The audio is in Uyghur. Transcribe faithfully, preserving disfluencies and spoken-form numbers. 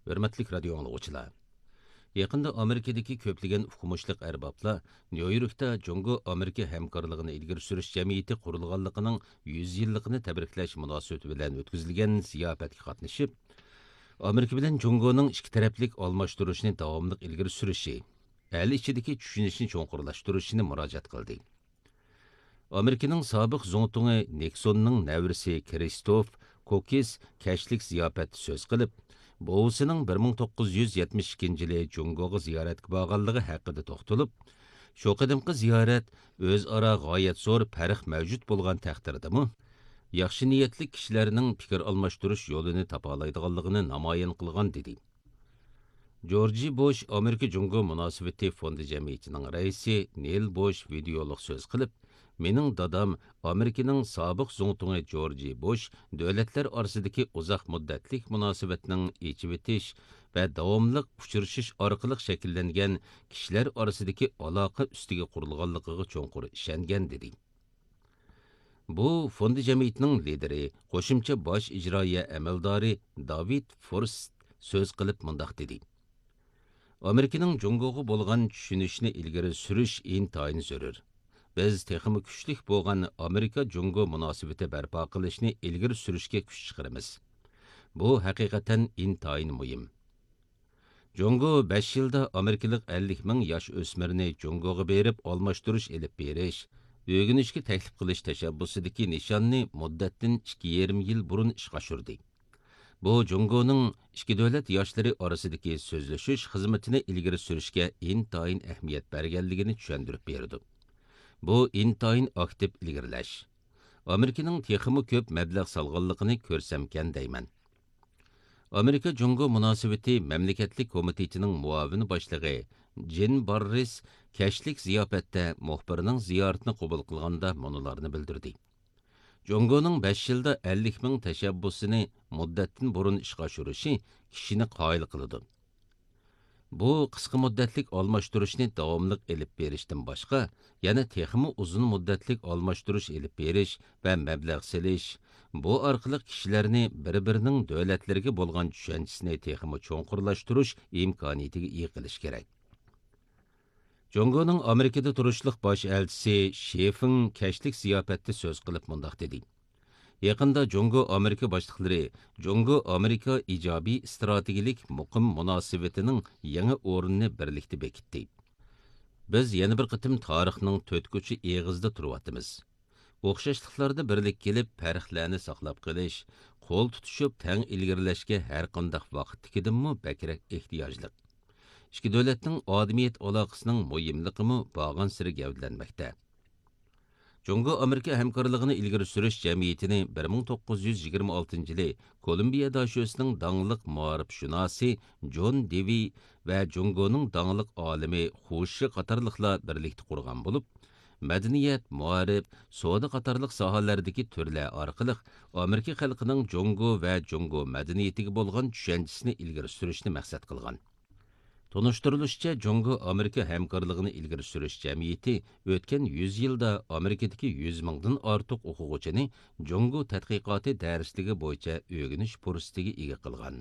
ھۆرمەتلىك رادىيو ئاڭلىغۇچىلار! يېقىندا ئامېرىكىدىكى كۆپلىگەن ئۇقمۇشلۇق ئەربابلار نيۇ يوركتا جۇڭگو ئامېرىكا ھەمكارلىقىنى ئىلگىرى سۈرۈش جەمئىيىتى قۇرۇلغانلىقىنىڭ يۈز يىللىقىنى تەبرىكلەش مۇناسىۋىتى بىلەن ئۆتكۈزۈلگەن زىياپەتكە قاتنىشىپ، ئامېرىكا بىلەن جۇڭگونىڭ ئىككى تەرەپلىك ئالماشتۇرۇشنى داۋاملىق ئىلگىرى سۈرۈشى، ئەل ئىچىدىكى چۈشىنىشنى چوڭقۇرلاشتۇرۇشىنى مۇراجىئەت قىلدى. ئامېرىكىنىڭ سابىق زۇڭتۇڭى نىكسوننىڭ نەۋرىسى كرىستوف كوكىس كەچلىك زىياپەتتە سۆز قىلىپ، بوۋىسىنىڭ بىر مىڭ توققۇز يۈز يەتمىش ئىككىنچى يىلى جۇڭگوغا زىيارەتكە بارغانلىقى ھەققىدە توختىلىپ، شۇ قېتىمقى زىيارەت ئۆزئارا غايەت زور پەرق مەۋجۇت بولغان تەقدىردىمۇ، ياخشى نىيەتلىك كىشىلەرنىڭ پىكىر ئالماشتۇرۇش يولىنى تاپالايدىغانلىقىنى نامايان قىلغان، دېدى. جورجى بوش ئامېرىكا جۇڭگو مۇناسىۋىتى فوندى جەمئىيىتىنىڭ رەئىسى نېيل بوش ۋىدېئولۇق سۆز قىلىپ، مېنىڭ دادام ئامېرىكىنىڭ سابىق زۇڭتۇڭى جورجى بوش دۆلەتلەر ئارىسىدىكى ئۇزاق مۇددەتلىك مۇناسىۋەتنىڭ ئېچىۋېتىش ۋە داۋاملىق ئۇچرىشىش ئارقىلىق شەكىللەنگەن كىشىلەر ئارىسىدىكى ئالاقە ئۈستىگە قۇرۇلغانلىقىغا چوڭقۇر ئىشەنگەن، دېدى. بۇ فوندى جەمئىيىتىنىڭ لىدىرى، قوشۇمچە باش ئىجرائىيە ئەمەلدارى داۋىد فورست سۆز قىلىپ مۇنداق دېدى: ئامېرىكىنىڭ جۇڭگوغا بولغان چۈشىنىشىنى ئىلگىرى سۈرۈش ئىنتايىن زۆرۈر. بىز تېخىمۇ كۈچلۈك بولغان ئامېرىكا جۇڭگو مۇناسىۋىتى بەرپا قىلىشنى ئىلگىرى سۈرۈشكە كۈچ چىقىرىمىز. بۇ ھەقىقەتەن ئىنتايىن مۇھىم. جۇڭگو بەش يىلدا ئامېرىكىلىق ئەللىك مىڭ ياش ئۆسمۈرنى جۇڭگوغا بېرىپ ئالماشتۇرۇش ئېلىپ بېرىش، ئۆگىنىشكە تەكلىپ قىلىش تەشەببۇسىدىكى نىشاننى مۇددەتتىن ئىككى يېرىم يىل بۇرۇن ئىشقا ئاشۇردى. بۇ جۇڭگونىڭ ئىككى دۆلەت ياشلىرى ئارىسىدىكى سۆزلىشىش خىزمىتىنى ئىلگىرى سۈرۈشكە ئىنتايىن ئەھمىيەت بەرگەنلىكىنى چۈشەندۈرۈپ بېرىدۇ. بۇ ئىنتايىن ئاكتىپ ئىلگىرىلەش. ئامېرىكىنىڭ تېخىمۇ كۆپ مەبلەغ سالغانلىقىنى كۆرسەمكەن دەيمەن. ئامېرىكا جۇڭگو مۇناسىۋىتى مەملىكەتلىك كومىتېتىنىڭ مۇئاۋىن باشلىقى جىن باررىس كەچلىك زىياپەتتە مۇخبىرنىڭ زىيارىتىنى قوبۇل قىلغاندا مۇنۇلارنى بىلدۈردى: جۇڭگونىڭ بەش يىلدا ئەللىك مىڭ تەشەببۇسىنى مۇددەتتىن بۇرۇن ئىشقا ئاشۇرۇشى كىشىنى قايىل قىلىدۇ. بۇ قىسقا مۇددەتلىك ئالماشتۇرۇشنى داۋاملىق ئېلىپ بېرىشتىن باشقا، يەنە تېخىمۇ ئۇزۇن مۇددەتلىك ئالماشتۇرۇش ئېلىپ بېرىش ۋە مەبلەغ سېلىش، بۇ ئارقىلىق كىشىلەرنى بىر-بىرىنىڭ دۆلەتلىرىگە بولغان چۈشەنچىسىنى تېخىمۇ چوڭقۇرلاشتۇرۇش ئىمكانىيىتىگە ئىگە قىلىش كېرەك. جۇڭگونىڭ ئامېرىكىدا تۇرۇشلۇق باش ئەلچىسى شى فېڭ كەچلىك زىياپەتتە سۆز قىلىپ مۇنداق دېدى: يېقىندا جۇڭگو ئامېرىكا باشلىقلىرى جۇڭگو ئامېرىكا ئىجابىي ئىستراتېگىيەلىك مۇقىم مۇناسىۋىتىنىڭ يېڭى ئورنىنى بىرلىكتە بېكىتتى. بىز يەنە بىر قېتىم تارىخنىڭ تۆت كوچا ئېغىزىدا تۇرۇۋاتىمىز. ئوخشاشلىقلاردا بىرلىككە كېلىپ، پەرقلەرنى ساقلاپ قېلىش، قول تۇتۇشۇپ تەڭ ئىلگىرىلەشكە ھەرقانداق ۋاقىتتىكىدىنمۇ بەكرەك ئېھتىياجلىق. ئىككى دۆلەتنىڭ ئادىمىيەت ئالاقىسىنىڭ مۇھىملىقىمۇ بارغانسېرى گەۋدىلەنمەكتە. جۇڭگو ئامېرىكا ھەمكارلىقىنى ئىلگىرى سۈرۈش جەمئىيىتىنى بىر مىڭ توققۇز يۈز يىگىرمە ئالتىنچى يىلى كولومبىيە داشۆسىنىڭ داڭلىق مائارىپشۇناسى جون دېۋى ۋە جۇڭگونىڭ داڭلىق ئالىمى خۇ شى قاتارلىقلار بىرلىكتە قۇرغان بولۇپ، مەدەنىيەت، مائارىپ، سودا قاتارلىق ساھەلەردىكى تۈرلەر ئارقىلىق ئامېرىكا خەلقىنىڭ جۇڭگو ۋە جۇڭگو مەدەنىيىتىگە بولغان چۈشەنچىسىنى ئىلگىرى سۈرۈشنى مەقسەت قىلغان. تونۇشتۇرۇلۇشىچە، جۇڭگو ئامېرىكا ھەمكارلىقىنى ئىلگىرى سۈرۈش جەمئىيىتى ئۆتكەن يۈز يىلدا ئامېرىكىدىكى يۈز مىڭدىن ئارتۇق ئوقۇغۇچىنى جۇڭگو تەتقىقاتى دەرسلىكى بويىچە ئۆگىنىش پۇرسىتىگە ئىگە قىلغان.